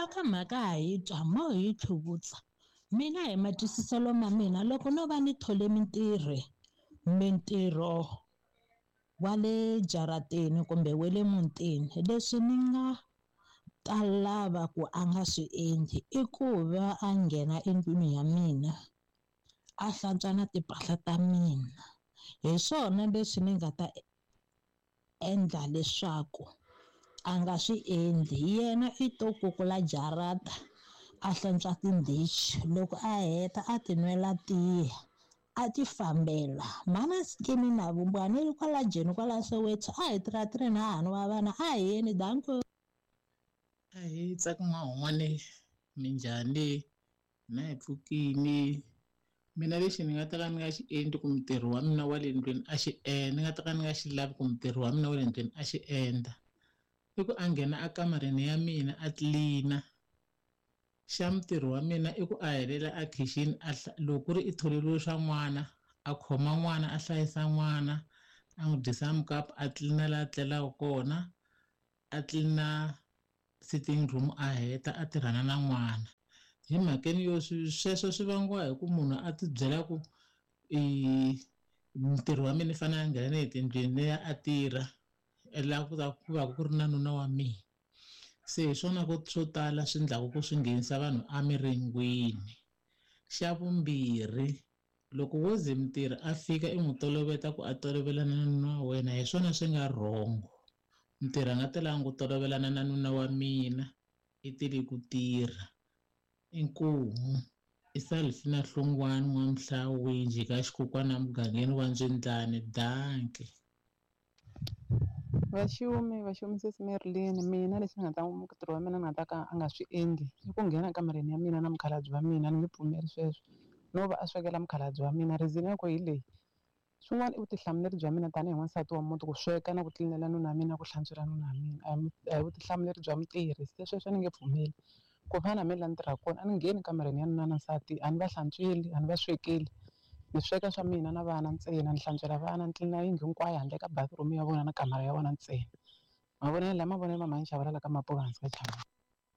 Loko mhaka ha yi twa mo hi tlhuvutsa. Mina hi matwisiselo ma mina loko no va ni thole mintirho, mintirho wa le jarateni kumbe wa le mutini, leswi ni nga ta lava ku a nga swi endli i ku va a nghena endlwini ya mina a hlantswa na timpahla ta mina. Hi swona leswi ni nga ta endla leswaku a nga swi endli. Yena i to kukula jarata a hlantswa tindhichi, loko a heta a ti nwela tiya a ti fambela. Mhana Skimi na Vumbani ri kwala Joni kwala Soweto, a hi tirha na hahani wa vana, a hi yeni danko. A hi tsaka n'wahun'wani, minjhani, na hi pfukini. Mina lexi ni nga ta ka ni nga xi endli ku mutirhi wa mina wa le ndlwini a xi endla, ni nga ta ka ni nga xi lavi ku mutirhi wa mina wa le ndlwini a xi endla, i ku a nghena akamareni ya mina a tlilina. Xa mutirhi wa mina i ku a helela a khixini, a loko ku ri i tholeriwe swa n'wana, a khoma n'wana, a hlayisa n'wana, a n'wi dyisa mukapu, a tlilina laha a tlelaka kona, a tlilina sitting room, a heta a tirhana na n'wana. Hi mhakeni yo sweswo swi vangiwa hi ku munhu a ti byela ku i mutirhi wa mina i fanele a nghena etindlwini leyi a tirha, laha ku ta ku va ku ri na nuna wa mina. Se hi swona ku swo tala swi endlaku ku swi nghenisa vanhu emiringwini. Xa vumbirhi, loko wo ze mutirhi a fika i n'wi toloveta ku a tolovelana na nuna wa wena, hi swona swi nga wrong. Mutirhi a nga telanga ku tolovelana na nuna wa mina, i tile ku tirha. Inkomu i Salifina Hlongwane n'wa Mhlawinji ka xikokwana mugangeni wa Ndzwendlane. Danke. Vaxumi, vaxumi sesi Merlin, mina lexi nga ta mutirhi wa mina ni nga ta ka a nga swi endli i ku nghena kamareni ya mina na mukhalabye wa mina, ni nge pfumeli sweswo. No va a swekela mukhalabye wa mina, reason ya ku hi leyi. Swin'wana i vutihlamuleri bya mina tanihi n'wansati wa muti ku sweka na ku tlilinela nuna wa mina, ku hlantswela nuna wa mina. A hi vutihlamuleri bya mutirhi, se sweswo ni nge pfumeli. Ku fana na mina laha ni tirhaka kona, a ni ngheni kamareni ya nuna na nsati, a ni va hlantsweli, a ni va swekeli. Ni sweka swa mina na vana ntsena, ni hlantswela vana, ni tlilina yindlu hinkwayo handle ka bathroom ya vona na kamara ya vona ntsena. Mavonelo lama mavonelo ma mhani Chavalala ka Mapuva hansi ka Chavalala.